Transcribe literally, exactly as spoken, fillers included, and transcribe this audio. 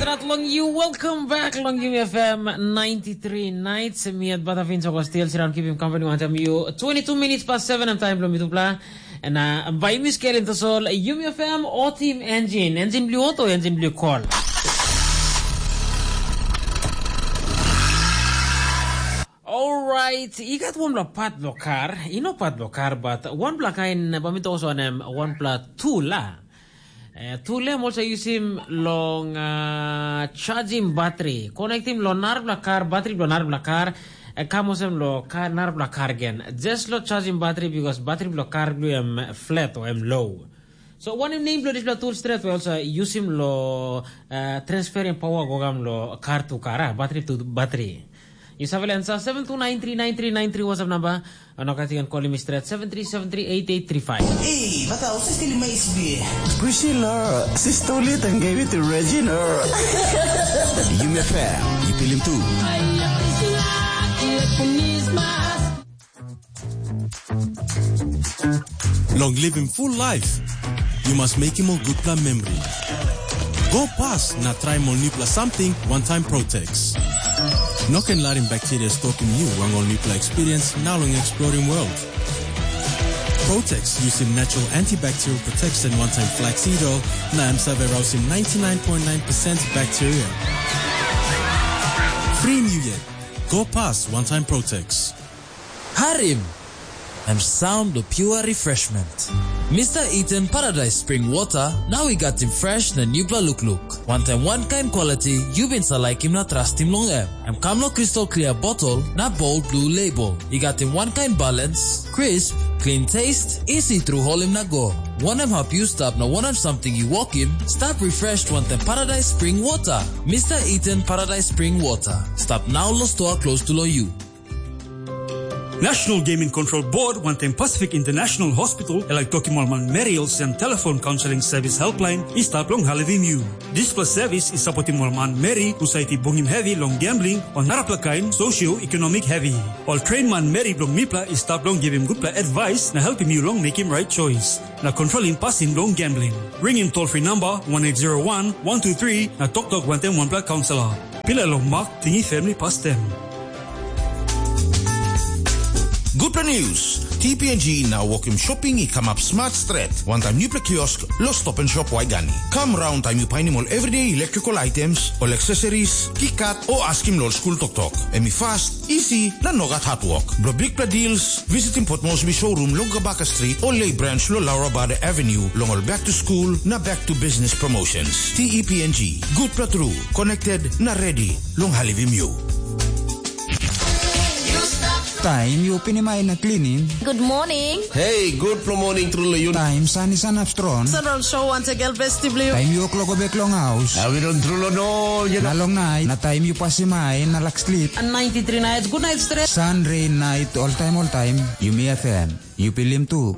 At long you, welcome back long Yumi F M ninety-three nights. Mi at Batafin Soko still sit down, keep him company one time you. Twenty-two minutes past seven, I'm time long Mitupla. And uh, by Miss Karen Tosol, Yumi F M or Team Engine. Engine Blue Auto, Engine Blue Call. Alright, i gat wanpela pat bilong kar, i no pat bilong kar, but wanpela kain bamita oso wanem, wanpela tula. Eh, tula em also yusim long uh, charging battery, connectim long narapela kar, battery bilong narapela kar, eh, kam olsem lo kar, narapela kar gen. Just lo charging battery because battery bilong kar bilong em flat o em low. So wanem nem bilong dispela tool stret we also yusim lo uh, transferring power gogam lo kar tu kar, ah, battery tu battery. Yu save lensa seven two nine three nine three nine three WhatsApp number. Ano kati kan call me straight seven three seven three eight eight three five. Hey, wat hou se stil my S B? Priscilla, sister lit and gave it to Regina. Yumi F M, you feel him too. Long living full life, you must make him a good plan memory. Go past na try ol newpela something one time Protex. No can larim bacteria stop in you wang ol newpela experience now long exploring world. Protex using natural antibacterial protection one time flaxseed oil na em save rausim ninety-nine point nine percent bacteria. Free you yet. Go past one time Protex. Harim! Em sound of pure refreshment. Mister Eden Paradise Spring Water, now we got him fresh na newpela look look. One time one kind quality, you been sa like him na trust him long em. Em kam lo crystal clear bottle na bold blue label. He got him one kind balance, crisp, clean taste, easy through hole him na go. One em help you stop na one em something you walk him, stop refreshed one time Paradise Spring Water. Mister Eden Paradise Spring Water. Stop now lo store close to lo you. National Gaming Control Board wantaim Pacific International Hospital e laik tokim ol manmeri olsem telefon kaunseling sevis helpline i stap long helpim yu. Dispela sevis i sapotim ol manmeri husat i bungim hevi long gambling o narapela kain socio-economic hevi. Ol train manmeri bilong mipela i stap long givim gutpela advice na helpim yu long mekim right choice na kontrolim pasin bilong gambling. Ringim toll free number one eight zero one one two three na toktok wantaim wanpela kaunselor. Pilai long mak tingim family pastem. Gutpela news, T P N G na wokim shopping i kamap smart stret, wantaim newpela kiosk lo Stop and Shop Waigani. Kam raun taim yu painim ol everyday electrical items, ol accessories, kikat o askim lo ol skul toktok. Em i fast, easy na nogat hatwok. Blo bikpela deals, visitim Port Moresby showroom long Kabaka Street o Lay Branch lo Laura Bada Avenue long ol back to school na back to business promotions. T E P N G, gutpela tru, connected na ready long helpim yu. Taim yu opinim ai na klinim. Good morning. Hey, good morning tru long yu. Taim san i sanap strong. Sunrise show once again, best blue. Taim yu okloko bek long haus. Awi don tru long no, you know. Na long nait, na taim yu pasim ai na lak slip. And ninety-three nights, good night stress. Sun, rain, night, all time, all time. Yumi F M. Yu pilim tu.